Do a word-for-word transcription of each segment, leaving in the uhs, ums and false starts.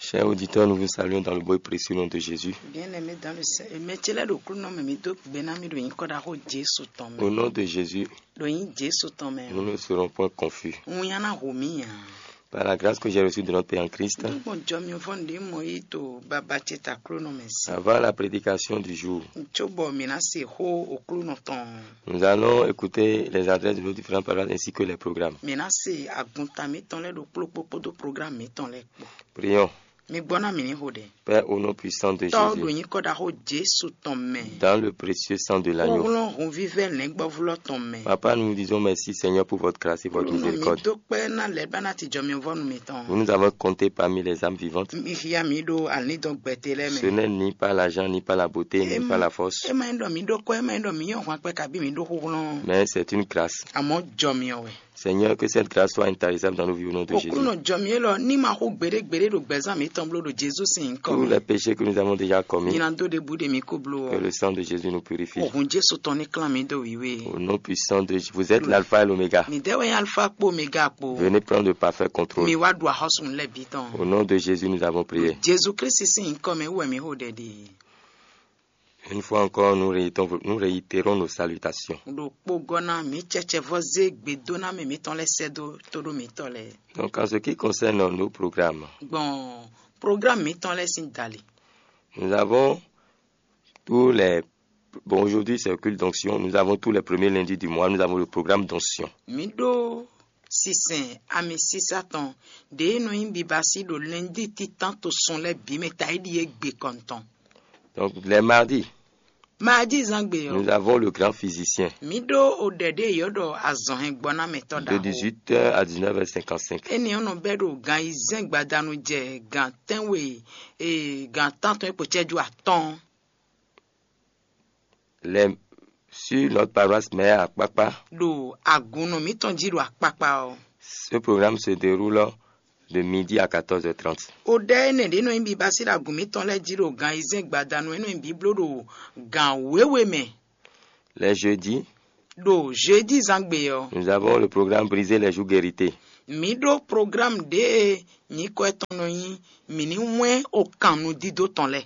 Chers auditeurs, nous vous saluons dans le beau et précieux nom de Jésus. Bien-aimé dans le Seigneur, mɛ ce lɛ́ɛ ɖo Aklúnɔ mɛ, mi dó gbe ná mì ɖo nyǐkɔ ɖaxó Jesu tɔn mɛ. Au nom de Jésus, Ɖo nyǐ Jesu tɔn mɛ, nous ne serons point confus. Winnyá ná hu mì ǎ. Par la grâce que j'ai reçue de notre Père en Christ, Nígbà jɔ mi vɔ́ ɖě mɔ yí to baba ce ta Aklúnɔ mɛ sí. Avant la prédication du jour, Tso bɔ mǐ ná se xó Aklúnɔ tɔn. Nous allons écouter les adresses de nos différentes paroisses ainsi que les programmes. Mǐ ná se agunta mǐtɔn lɛ́ɛ ɖo kplɔ́kpó kpódó programme mǐtɔn lɛ́ɛ kpó. Prions. Mi gbɔ ná mǐ ní xo ɖɛ. Père, au nom puissant de Tɔ́ ɖo Jésus, nyǐkɔ ɖaxó Jesu tɔn mɛ. Dans le précieux sang de l'agneau. Xóxlɔ́n hunvívɛ́ lɛ̌ngbɔ́vlɔ́ tɔn mɛ. Papa, nous vous disons merci, Seigneur, pour votre grâce et votre Xóxlɔ́n mi miséricorde. Dó kpɛ́ ná lɛ̌ ba ná ti jɔ mi vɔ́ nu mitɔn. Vous nous avons compté parmi les âmes vivantes. Mi xia mǐ ɖo alíndɔn gbɛtɛ́ lɛ́ɛ Ce mɛ. N'est ni par l'argent, ni par la beauté, ni par la force. É ma nyí ɖɔ mǐ ɖó kɔ́, é ma nyí ɖɔ mǐ nyɔ́ hwan kpɛ́ kabí mǐ ɖó xóxlɔ́n. Mais c'est une grâce. Àmọ́ jɔ mi ɔ wɛ. Seigneur, que cette grâce soit intarissable dans nos vies au nom de Jésus. Òkúnnù jɔ mì élɔ́ ní ma xú gbeɖé gbeɖé ɖo gbɛzán mǐtɔn bló ɖo Jezu sín nyǐkɔ Tous mɛ. Les péchés que nous avons déjà commis, Nyina dó ɖěbǔ ɖe mǐ kó bló que ɔ́. Le sang de Jésus nous purifie. Òhun Jesu tɔn ní klán mǐ dó wǐwé. Au nom puissant de Jésus. Vous êtes l'alpha et l'oméga. Mǐdɛɛ wɛ nyí Alfa kpó Omega kpó. Venez prendre le parfait contrôle. Mi wá ɖu axɔ́súnú lɛ́ɛ bǐ tɔn. Au nom de Jésus, nous avons prié. Jezu Kristi sín nyǐkɔ mɛ wú wɛ mǐ xo ɖɛ ɖe. Une fois encore, nous réitérons, nous réitérons nos salutations. Ɖo kpogɔ́ ná mǐ cɛcɛvɔ́ zé gbedónámɛ mǐtɔn lɛ́ɛ sɛ́ dó tóɖó mǐtɔn lɛ́ɛ. Donc, en ce qui concerne nos programmes, Gbɔn programme mǐtɔn lɛ́ɛ sín dali. Nous avons tous les, bon, aujourd'hui c'est le culte d'onction, nous avons tous les premiers lundis du mois, nous avons le programme d'onction. Mǐ ɖó sinsɛn ami sísá tɔn ɖě e nɔ nyí bibasí ɖo lɛndí títán to sun lɛ́ɛ bǐ mɛ taíɖi e gbe kɔntɔn. Donc, les mardis, Maadi zán gbe ɔ́, nous avons le grand physicien. Mǐ ɖó oɖɛ ɖé yɔ̌ ɖɔ azɔ̌hɛngbɔ́námɛtɔ́ De ɖaxó. Dix-huit heures à dix-neuf heures cinquante-cinq. Énɛ́ ɔ́ nɔ bɛ́ ɖo gan ayizɛ́n gbadanu jɛ gan tɛ́nwe e gan tántɔn e kpo cɛ́jú atɔ́ɔ́n. Les, sur notre paroisse mère à Kpakpa, Ɖo agunnɔ mǐtɔn jí ɖo akpakpa ɔ́. Ce programme se déroule de midi à quatorze heures trente. Oɖɛ énɛ́ ɖě nɔ nyí bibasí ɖo agun mǐtɔn lɛ́ɛ jí ɖo gan ayizɛ́n gbadanu e nɔ nyí bǐbló ɖo gan wěwe mɛ. Les jeudis, Ɖo jeudi zán gbe ɔ́, nous avons le programme Briser les joues guéritées. Mǐ ɖó programme ɖě e nyǐkɔ tɔn nɔ nyí mǐ ní wɛ́n okan nudídó tɔn lɛ́ɛ.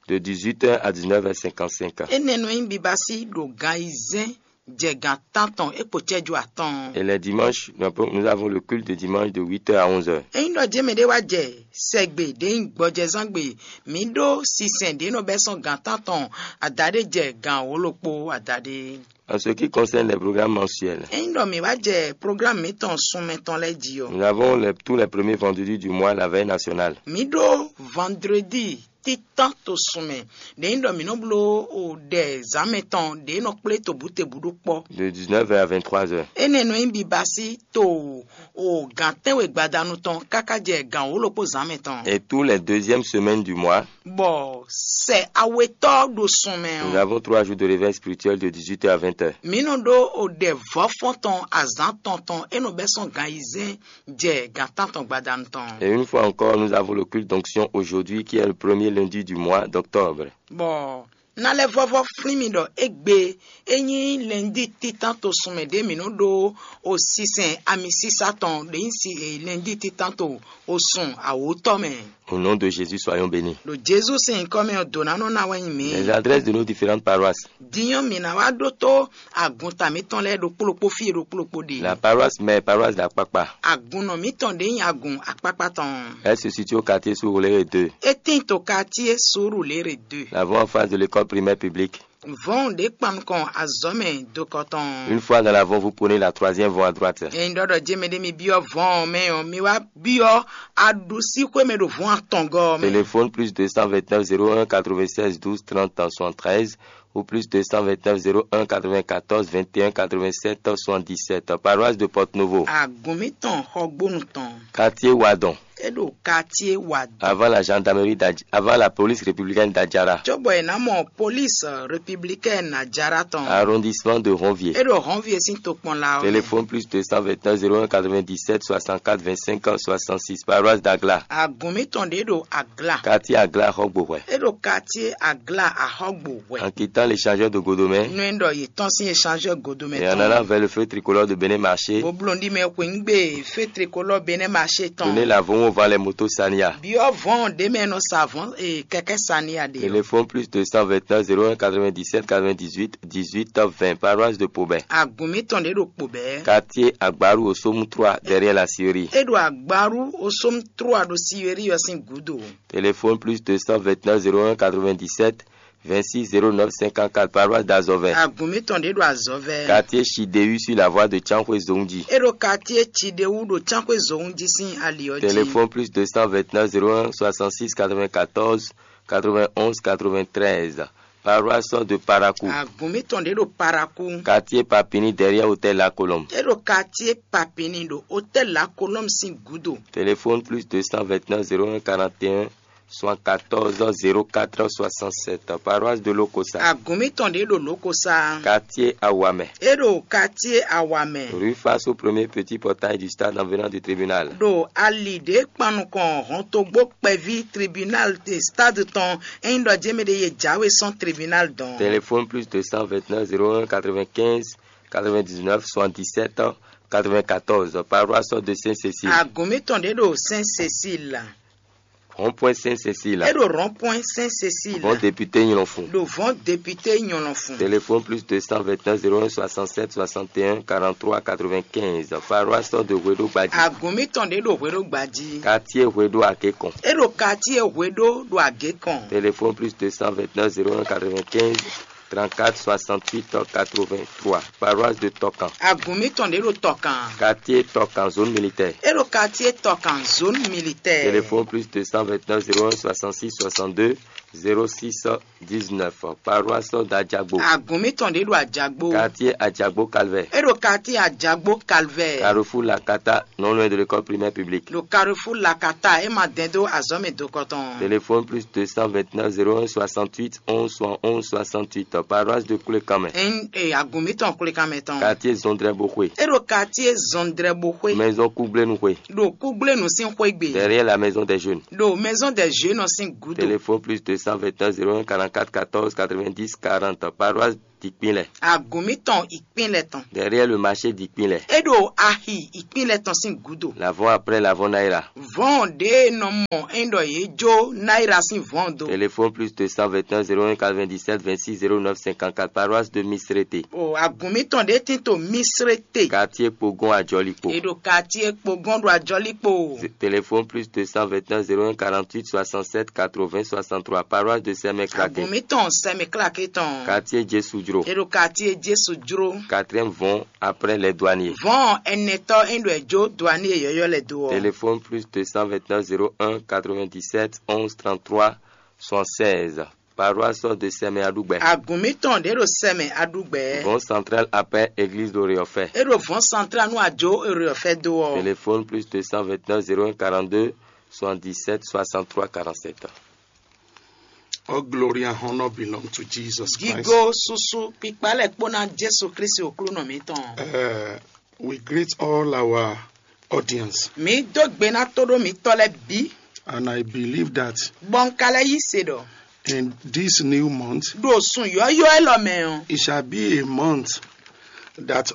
De dix-huit heures à dix-neuf heures cinquante-cinq. Énɛ́ nɔ nyí bibasí ɖo gan ayizɛ́n jɛ gan tántɔn é kpo cɛ́jú atɔn. Et les dimanches, nous avons, nous avons le culte de dimanche de huit heures à onze heures. Ényí ɖɔ jɛ́n mɛɖé wá jɛ sɛgbe ɖě nyí gbɔjɛzángbe, mǐ ɖó sinsɛn ɖě nɔ bɛ́ sɔ́n gan tántɔn adaɖé jɛ gan wǒ-ɖokpó adaɖé. En ce qui concerne les programmes mensuels, Ényí ɖɔ mǐ wá jɛ programme mǐtɔn sunmɛ tɔn lɛ́ɛ jí ɔ́, nous avons les, tous les premiers vendredis du mois la veille nationale. Mǐ ɖó vendredi títán to sun mɛ. Ɖě nyí ɖɔ mǐ nɔ bló o ɖɛ zǎnmɛ tɔn ɖě nɔ kplé tobǔtebǔ ɖó kpɔ́. De dix-neuf heures à vingt-trois heures. Énɛ́ nɔ nyí bibasí to o gǎn tɛ́nwe gbadanu tɔn káká jɛ gǎn wǒ-ɖokpó zǎnmɛ tɔn. Et tous les deuxièmes semaines du mois, Bɔ sɛ awetɔ́ ɖo sun mɛ nous ɔ́, avons trois jours de réveil spirituel de dix-huit heures à vingt heures. Mǐ nɔ ɖó o ɖɛ vɔ̌fɔ́n tɔn azǎn tɔn tɔn é nɔ bɛ́ sɔ́n gan ayizɛ́n jɛ gǎn tántɔn gbadanu tɔn. Et une fois encore, nous avons le culte d'onction aujourd'hui, qui est le premier lundi du mois d'octobre. Bɔ ná lɛ́ vɔ́vɔ́ flín mi ɖɔ égbé é nyí lɛndí títán to sun mɛ ɖě mǐ nɔ ɖó o sinsɛn ami sísá tɔn ɖě nyí si e lɛndí títán to o sun awǒtɔ́ mɛ. Au nom de Jésus, soyons bénis. Ɖo Jezu sín nyǐkɔ mɛ ɔ́, dǒ ná nɔ ná wɛ nyi mǐ. Les adresses de nos différentes paroisses. Din ɔ́, mǐ ná wá ɖótó agunta mǐtɔn lɛ́ɛ ɖokpó ɖokpó fí e ɖokpó ɖokpó ɖe. La paroisse mère, paroisse d'Akpakpa. Agunnɔ mǐtɔn ɖě nyí agun akpákpá tɔn. Elle se situe au quartier Surulere deux. É tín to quartier Surulere deux. La voie en face de l'école primaire publique. Vɔ̌n ɖě kpan nukɔn azɔ̌ mɛ dokɔ tɔn. Une fois dans la voie, vous prenez la troisième voie à droite. Ényí ɖɔ ɖɔ jɛ́n mɛɖé mi byɔ́ vɔ̌n ɔ́ mɛ ɔ́, mi wá byɔ́ aɖusíxwé mɛ ɖo vɔ̌n atɔngɔ́ ɔ́ mɛ. Téléphone plus deux cent vingt-neuf zéro un quatre-vingt-seize douze trente soixante-treize ou plus deux cent vingt-neuf zéro un quatre-vingt-quatorze vingt et un quatre-vingt-sept soixante-dix-sept. Paroisse de Porto Novo. Agun mǐtɔn xɔgbónu tɔn. Quartier Wadon. É ɖo quartier Wadon. Avant la gendarmerie d'Adj-, avant la police républicaine d'Adjara. Cóbɔ è nǎ mɔ police républicaine Adjara tɔn. Arrondissement de Ronvier. É ɖo Ronvier sín tokpɔnla ɔ́ mɛ. Téléphone plus deux cent vingt-neuf zéro un quatre-vingt-dix-sept soixante-quatre vingt-cinq soixante-six, paroisse d'Agla. Agun mǐtɔn ɖě ɖo Agla. Quartier Agla Xɔgbowɛ. É ɖo quartier Agla Axɔgbo hwɛ. En quittant l'échangeur de Godomé. Nú é ɖɔ yě tɔ́n sín échangeur Godomé tɔn. Et en allant vers le feu tricolore de Bénin Marché. Bó bló ɖi mɛ xweyǐgbe feu tricolore Bénin Marché tɔn. Prenez la Vonwo Vɔn lɛ moto saniya. Byɔ́ vɔn ɖě mɛ è nɔ sa vɔn e kɛkɛ́ saniya ɖe ɔ́. Téléphone plus deux cent vingt-neuf zéro un quatre-vingt-dix-sept quatre-vingt-dix-huit dix-huit vingt, paroisse de Pobɛn. Agun mǐtɔn ɖě ɖo Pobɛn. Quartier Agbaru au Somme trois, derrière la Syrie. É ɖo Agbaru au Somme trois ɖo Syrie ɔ́ sín gǔdo. Téléphone plus deux cent vingt-neuf zéro un quatre-vingt-dix-sept vingt-six zéro neuf cinquante-quatre, paroisse d'Azɔvɛ. Agun mǐtɔn ɖě ɖo Azɔvɛ. Quartier Chidéu sur la voie de Tsanxwé Zongji. É ɖo quartier Chidéu ɖo Tsanxwé Zongji sín ali ɔ́ jí. Téléphone plus deux cent vingt-neuf zéro un soixante-six quatre-vingt-quatorze quatre-vingt-onze quatre-vingt-treize, paroisse de Parakou. Agun mǐtɔn ɖě ɖo Parakou. Quartier Papini derrière hôtel La Colombe. É ɖo quartier Papini ɖo hôtel La Colombe sín gǔdo. Téléphone plus deux cent vingt-neuf zéro un quarante et un soixante-quatorze zéro quatre soixante-sept, paroisse de Lokosa. Agun mǐtɔn ɖě ɖo Lokosa. Quartier Awamɛ. É ɖo quartier Awamɛ. Rue face au premier petit portail du stade en venant du tribunal. Ɖo ali ɖě kpan nukɔn hɔntogbó kpɛví tribunal de stade tɔn, ényí ɖɔ jɛ́n mɛ ɖě yě jáwé sɔ́n tribunal dɔn. Téléphone plus deux cent vingt-neuf zéro un quatre-vingt-quinze quatre-vingt-dix-neuf soixante-dix-sept quatre-vingt-quatorze, paroisse de Saint-Cécile. Agun mǐtɔn ɖě ɖo Saint-Cécile. Rond-point Saint-Cécile. É ɖo rond-point Saint-Cécile. Bon député Nyɔnfun. Ɖo vɔn député Nyɔnfun. Téléphone plus deux cent vingt-neuf zéro un soixante-sept soixante et un quarante-trois quatre-vingt-quinze, paroisse de Hweɖo Gbadji. Agun mǐtɔn ɖě ɖo Hweɖo Gbadji. Quartier Hweɖo Agékɔn. É ɖo quartier Hweɖo ɖo Agékɔn. Téléphone plus deux cent vingt-neuf zéro un quatre-vingt-quinze trente-quatre soixante-huit quatre-vingt-trois, paroisse de Tɔkan. Agun mǐtɔn ɖě ɖo Tɔkan. Quartier Tɔkan, zone militaire. É ɖo quartier Tɔkan, zone militaire. Téléphone plus deux cent vingt-neuf zéro un soixante-six soixante-deux zéro six dix-neuf, paroisse d'Adjagbo. Agun mǐtɔn ɖě ɖo Adjagbo. Quartier Adjagbo Calvaire. É ɖo quartier Adjagbo Calvaire. Carrefour Lakata, non loin de l'école primaire publique. Ɖo Carrefour Lakata, é ma dɛn dó azɔ̌ mɛ dokɔ tɔn. Téléphone plus deux cent vingt-neuf zéro un soixante-huit onze soixante-onze soixante-huit, paroisse de Koulékamɛ. Ɛn e agun mǐtɔn Koulékamɛ tɔn. Quartier Zondrɛboxwe. É ɖo quartier Zondrɛboxwe. Maison Kougblénuxwe. Ɖo Kougblénu sín xwé gbe. Derrière la maison des jeunes. Ɖo maison des jeunes sín gúdo. Téléphone plus deux cent vingt-neuf zéro un quarante-quatre quatorze quatre-vingt-dix quarante, paroisse d'Ikpinlɛ. Agun mǐtɔn Ikpinlɛ tɔn. Derrière le marché d'Ikpinlɛ. É ɖo axi Ikpinlɛ tɔn sín gúdo. L'avant après l'avant Naira. Vɔn ɖě e nɔ mɔ é ɖɔ yě jó Naira sín vɔn do. Téléphone plus deux cent vingt-neuf zéro un quatre-vingt-dix-sept vingt-six zéro neuf cinquante-quatre, paroisse de Misrete. O agun mǐtɔn ɖě tín to Misrete. Quartier Pogon Ajɔlikpo. È ɖo quartier Pogon ɖo Ajɔlikpo. Téléphone plus deux cent vingt-neuf zéro un quarante-huit soixante-sept quatre-vingts soixante-trois, paroisse de Sɛmɛklake. Agun mǐtɔn Sɛmɛklake tɔn. Quartier Jesu Jro. È ɖo quartier Jesu Jro. Quatrième vɔn après les douaniers. Vɔn ɛnɛtɔ é ɖo ɛ jó douanier yɔyɔ lɛ do ɔ. Téléphone plus deux cent vingt-neuf zéro un quatre-vingt-dix-sept onze trente-trois soixante-seize. Paroisse de Sɛmɛ Aɖugbɛ. Agun mǐtɔn ɖě ɖo Sɛmɛ Aɖugbɛ. Bon central après église de Réofɛ. É ɖo vɔn central nú àjò Réofɛ do ɔ. Téléphone plus deux cent vingt-neuf zéro un quarante-deux soixante-dix-sept soixante-trois quarante-sept. All glory and honor belong to Jesus Christ. Gigo susu kpikpa lɛ kpó ná Jésù Kristi òklúnɔ mǐtɔn. Uh, we greet all our audience. Mǐ dó gbe ná tóɖó mǐtɔn lɛ́ɛ bǐ. And I believe that Bɔ un ka lɛ́ yí se ɖɔ in this new month, ɖo sun yɔ́yɔ́ élɔ́ mɛ ɔ́, it shall be a month that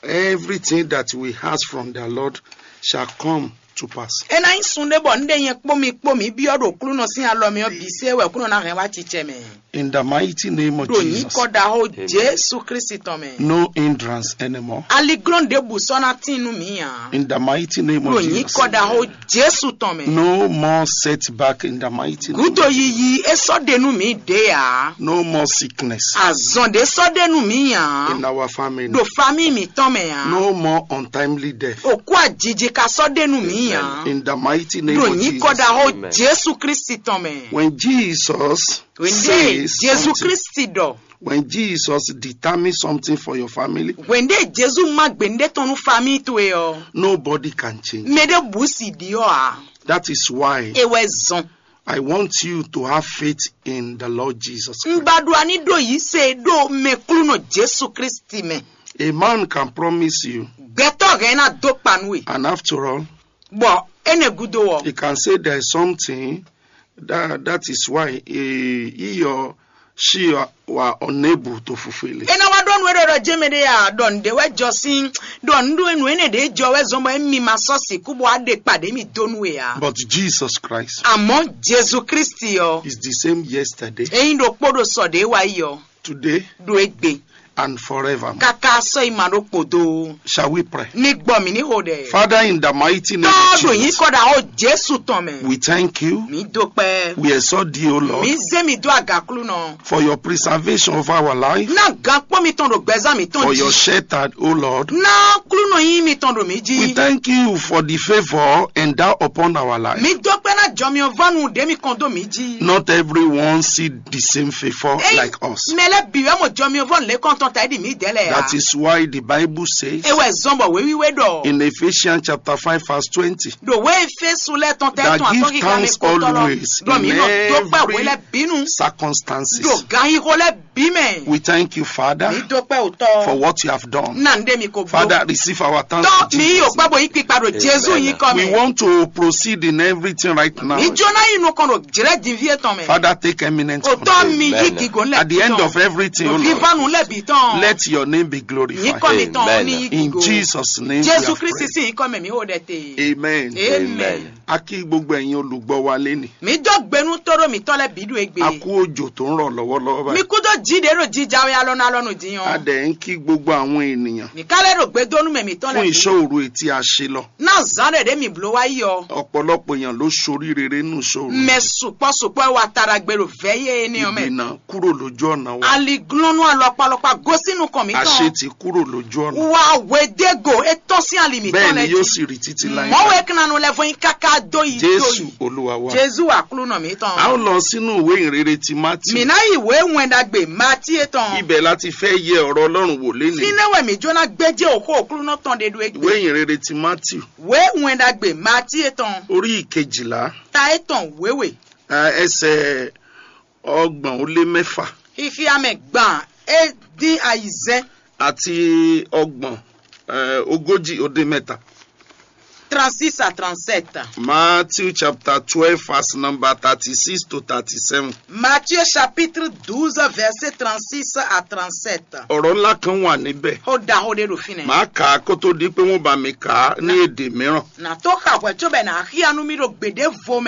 everything that we ask from the Lord shall come to pass. É ná nyí sun ɖé bɔ un ɖe nyɛ kpó mi kpó mǐ byɔ́ ɖo Aklúnɔ sín alɔ mɛ ɔ́ bǐ se wɛ Aklúnɔ ná hɛn wá cicɛ mɛ. In the mighty name of Ɖo Jesus. Nyǐkɔ ɖaxó Jésù Kristi tɔn mɛ. No hindrance anymore. Aliglɔ́n ɖěbǔ sɔ́ ná tín nú mǐ ǎ. In the mighty name of Ɖo Jesus. Nyǐkɔ ɖaxó Jésù tɔn mɛ. No more setback in the mighty name. Gúdo yiyi é sɔ́ ɖe nú mǐ ɖě ǎ. No more sickness. Azɔn ɖě sɔ́ ɖe nú mǐ ǎ. In our family. Ɖo famíi mǐtɔn mɛ ǎ. No more untimely death. Òkú ajiji ka sɔ́ ɖe nú mǐ ǎ. In the mighty name Ɖo of Jesus. Nyǐkɔ ɖaxó Amen. Jésù Kristi tɔn mɛ. When Jesus Wěnde says Jésù something, Kristi ɖɔ. When Jesus determines something for your family, Wěnde Jésù má gběndé tɔn nú famíi towe ɔ́. Nobody can change. Mɛ ɖé bǔ sì ɖi ɔ́ ǎ. That is why E wɛ zɔn. I want you to have faith in the Lord Jesus Christ. Un ba ɖo aní ɖo yí se ɖo mɛklúnɔ Jésù Kristi mɛ. A man can promise you, Gbɛtɔ́ hɛn ná dó kpa nú we. And after all, Bɔ énɛ́ gúdo ɔ́, he can say there is something that, that is why he, he or she are, were unable to fulfill it. É ná wá ɖɔ nú Ɖɔ ɖɔ jɛmɛ ɖé ya ɖɔ nǔɖé wɛ jɔ sín ɖɔ nǔɖé nǔ énɛ́ ɖě jɔ wɛ zɔn bɔ émi ma sɔ́ sixú bɔ aɖe kpaɖé mi dó nú we ǎ. But Jesus Christ Àmọ́ Jezu Kristi ɔ́, is the same yesterday, é nyí ɖokpó ɖo sɔ ɖě wá yi ɔ́, today, ɖo égbé, and forever. Káká sɔ́ yi ma ɖó kpòdó. Shall we pray? Ní gbɔ mǐ ní xo ɖɛ. Father, in the mighty name Tɔ́ of ɖo yín Jesus, kɔ ɖo ahó Jesu tɔn mɛ. We thank you. Mǐ dó kpɛ́. We exalt thee, O Lord, Mǐ zé mi dó agaklúnɔ. For your preservation of our life. Ná gǎnkpɔ́ mitɔn ɖo gbɛzán mǐtɔn For your jí. Shelter, O Lord. Ná klúnɔ yín mitɔn ɖo mǐ jí. We thank you for the favor endowed upon our life. Mǐ dó kpɛ́ ná jɔmiɔvɔ́nu ɖě mi kɔn dó mǐ jí. Not everyone see the same favor Ey, like us. Mɛ lɛ́ bǐ wɛ mɔ jɔmiɔvɔ́nu lě kɔn tɔn ta é ɖi mǐ dɛ̌ lɛ́ɛ ǎ. That is why the Bible says É wɛ zɔn bɔ wěwíwé ɖɔ. In Ephesians chapter five verse twenty, Ɖo wě Efesu lɛ́ɛ tɔn tɛ that tɔn give atɔn kíká mɛ thanks kó tɔlɔ. Always Ɖɔ mí in nɔ dó kpɛ́ hwe every lɛ́ɛ bínú. Circumstances. Ɖo gǎnyixo lɛ́ɛ bí mɛ. We thank you, Father, Mǐ dó kpɛ́ òtɔ. For what you have done. Ná ń ɖe mi ko bló. Father, receive our thanks. Tɔ in mǐ yí Jesus' òkpá name. Bo yí kpikpa ɖo Jezu nyí kɔ We mɛ. Want to proceed in everything right now. Mǐ jó ná yi nukɔn ɖo jlɛ́ dinví etɔn mɛ. Father, take eminent Òtɔ control. Mi yí Amen. Gígo lɛ At the end of everything, O Lord, Vivanu lɛ bǐ tɔn. Let your name be glorified. Nyí kɔ mi tɔn Amen. Ní yí In gígo. Jesus' name we Jesu have Kristi prayed. Sin nyí kɔ mɛ mi ó ɖɛ te. Amen. Amen. Amen. A kí gbogbo ẹ̀yin olùgbọ́ wa lénìí. Mǐ dó gbenu tóɖó mǐtɔn lɛ́ɛ bǐ ɖo egbe. A kú òjò tó ń rọ̀ lọ́wọ́lọ́wọ́ Mi báyìí. Kú dó jí ɖě ɖo jija wɛ alɔnu alɔnu din A ɔ́. Dẹ̀ ń kí gbogbo àwọn ènìyàn Mǐ ká lɛ́ ɖo gbedónú mɛ mǐtɔn fún lɛ́ɛ bǐ. Ìṣòro etí a ṣe lọ. Ná zǎn ɖě ɖě mǐ bló wá yi ɔ́. Ọ̀pọ̀lọpọ̀ èèyàn ló ṣoríire nínú ìṣòro. Mɛ sukpɔ́ sukpɔ́ wɛ wa taɖagbe ɖo vɛ̌ yé énɛ́ ɔ́ mɛ. Ìgbìnà kúrò lójú ọ̀nà wa. Aliglɔ́nú alɔkpalɔkpa gosín nukɔn mǐtɔn. Àṣetì kúrò lójú ọ̀nà. Wa hwedégo é tɔ́n sín ali mǐtɔn Bẹ́ẹ̀ ni lɛ́ɛ yóò jí. Sì rí títí láé. Mɔ̌ wɛ é kan nɔ lɛ́ vɔ́n yín káká dó yi dó Jésù yi. Olúwa wa. Jezu Aklúnɔ mǐtɔn. A ó lọ sínú ìwé ìrere ti Mátì. Mǐ ná yi wě wɛn ɖagbe Matíe tɔn. Ibẹ̀ láti fẹ́ yẹ ọ̀rọ̀ Ọlọ́run wò lénìí. Fínɛ́ wɛ mǐ jó ná gbéjé òxó Aklúnɔ tɔn ɖe ɖó é Ìwé gbe. Ìrere ti Mátì. Wě wɛn ɖagbe Matíe tɔn. Orí ìkejìlá. Ta é tɔn wěwe. Ẹ, ẹsẹ̀ ọgbọ̀n ó lé mẹ́fà. Xixia mɛ gban é dín ayizɛ́n. Àti ọgbọ̀n, ẹ, ogójì ó dín mẹ́ta. Trente-six à trente-sept. Matthew chapter twelve, verse number thirty-six to thirty-seven. Matthieu chapitre douze, verset trente-six à trente-sept. Ọ̀rọ̀ ńlá kan wà níbẹ̀. Xó ɖaxó ɖé ɖo fínɛ́. Màá kà á kó tó di pé wọ́n bá mi kà á ní èdè mìíràn. Nà tó xa hwɛ̌ cóbɔ è nǎ xyá nú mì ɖo gběɖévo mɛ.